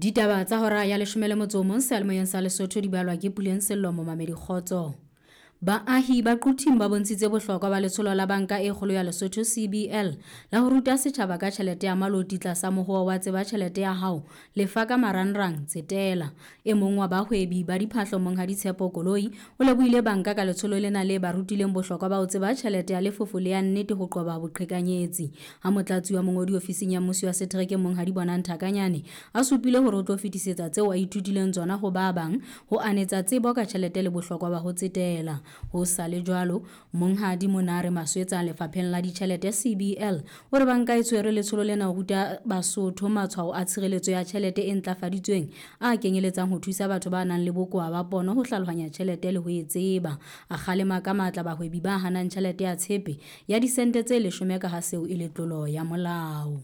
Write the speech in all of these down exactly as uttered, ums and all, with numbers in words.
Ditaba tsa hora ya leshome le motso o mong seyalemoyeng sa Lesotho di balwa ke Puleng Sello momamedi kgotso. Baahi ba Quthing ba bontshitse bohlokwa ba letsholo la Banka e Kgolo ya Lesotho C B L la ho ruta setjhaba ka tjhelete ya maloti tlasa mohoo wa tseba tjhelete ya hao lefa ka marangrang tsetela. E mong wa bahwebi ba diphahlo Monghadi Tshepo Koloi o lebohile banka ka letsholo lena le ba rutileng bohlokwa ba ho tseba tjhelete ya lefofo le ya nnete ho qoba boqhekanyetsi. Ha motlatsi wa mongodi ofising ya mmusi wa setereke Monghadi Bonang Thakanyane a supile hore o tlo fetisetsa tseo a ithutileng tsona ho ba bang ho anetsa tsebo ka tjhelete le bohlokwa ba ho tsetela. Ho sa le jwalo, Monghadi Monare Maswetsa lefapheng la ditjhelete C B L o re banka e tshwere letsholo lena ho ruta Basotho matshwao a tshireletso ya tjhelete e ntlafaditsweng a kenyeletsang ho thusa batho ba nang le bokowa ba pono ho hlalohanya tjhelete le ho e tseba. A kgalema ka matla bahwebi ba hanang tjhelete ya tshepe ya disente tse leshome ka ha seo e le tlolo ya molao.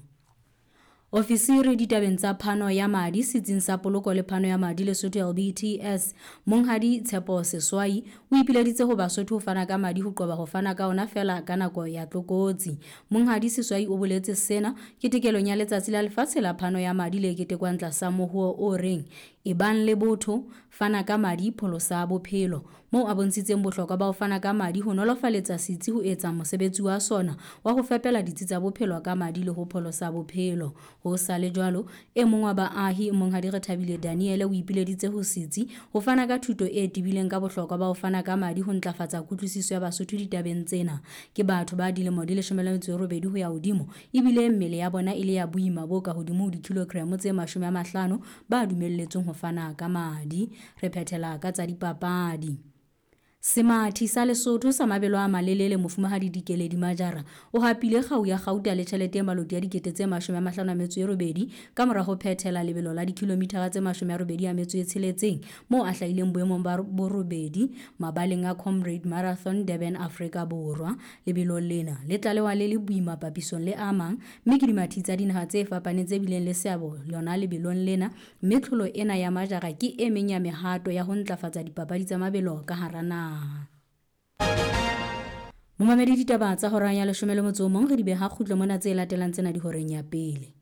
Ofisiri ditabeng tsa phano ya madi setsing sa poloko le phano ya madi Lesotho L B T S Monghadi Tshepo Seswai o ipileditse ho Basotho ho fana ka madi ho qoba ho fana ka ona feela ka nako ya tlokotsi. Monghadi Seswai o boletse sena ketekelong ya letsatsi la lefatshe la phano ya madi le ketekwang tlasa mohoo o reng e bang le botho fana ka madi pholosa bophelo, moo a bontshitseng bohlokwa ba ho fana ka madi ho nolofaletsa setsi ho etsa mosebetsi wa sona wa ho fepela ditsi tsa bophelo ka madi le ho pholosa bophelo. Ho sa le jwalo, e mong wa baahi Monghadi Rethabile Daniele o ipileditse ho setsi ho fana ka thuto e tebileng ka bohlokwa ba ho fana ka madi ho ntlafatsa kutlwisiso ya Basotho ditabeng tsena. Ke batho ba dilemo di leshome le metso e robedi ho ya hodimo ebile mmele ya bona e le ya boima bo ka hodimo ho dikilogramo tse mashome a mahlano ba dumelletsweng ho fana ka madi. Re phethela ka tsa dipapadi. Semathi sa Lesotho sa mabelo a malelele Mofumahadi Dikeledi Majara o hapile kgau ya kgauta le tjhelete e maloti ya dikete tse mashome a mahlano a metso e robedi ka mora ho phethela lebelo la dikilomithara tse mashome a robedi a metso e tsheletseng moo a hlahileng boemong ba borobedi mabaleng a Comrade Marathon Durban, Afrika Borwa. Lebelo lena le tlalewa le le boima papisong le a mang mme ke dimathi tsa dinaha tse fapaneng tse bileng le seabo lona lebelong lena, mme tlholo ena ya Majara ke e meng ya mehato ya ho ntlafatsa dipapadi tsa mabelo ka hara naha. Momamedi ditaba tsa hora ya leshome le motso o mong re di beha kgutlo mona tse latelang tsena di horeng ya pele.